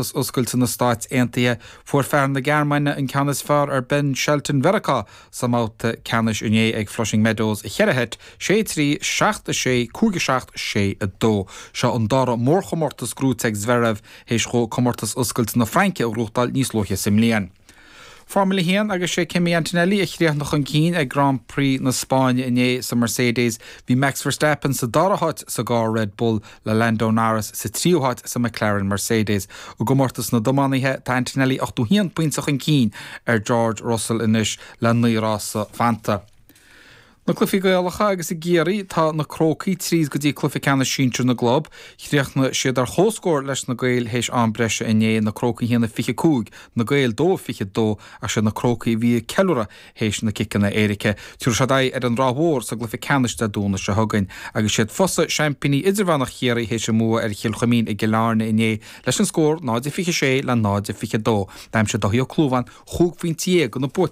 gcomórtas oscailte na Stáit Aontaithe. Fuair fear na Gearmáine an ceann is fearr ar Ben Shelton Mheiriceá sa mbabhta ceannais inné ag Flushing Meadows i cheithre sheit, 6, 3, 7, 6, 5, 7, 6, 2. Seo an dara mórchomórtas gnóite ag Zverev théis dhó comórtas oscailte na Fraince a ghnóthachtáil níos luaithe sa mbliain. Formula 1 agus sé Kimi Antonelli a chríochnaigh chun cinn ag Grand Prix na Spáinne inné sa Mercedes. Bhí Max Verstappen sa dara háit sa gcarr Red Bull le Lando Norris sa tríú háit sa McLaren Mercedes. I gcomórtas na dtiománaithe tá Antonelli 81 pointe chun cinn ar George Russell anois le 9 rása fanta. Na cluichí Gaelacha agus i gCiarraí tá na Crócaigh tríd go dtí cluiche ceannais sinsir na gclub. Chríochnaigh siad ar comhscór leis na Gaeil théis am breise inné, na Crócaigh 1-25, na Gaeil 2-22 ach siad na Crócaigh a bhí ag ceiliúradh théis na ciceanna éirice. Tabharfaidh siad aghaidh ar an Ráth Mhór sa gcluiche ceannais Dé Domhnaigh seo chugainn. Agus siad Fosa seaimpíní idirmheánach Chiarraí théis a mbua ar Chill Chuimín i gCill Airne inné leis an scór 0-26 le 0-22. D'aimsigh Dáithí Ó Clúmháin chúig phointe dhéag do na buaiteoirí.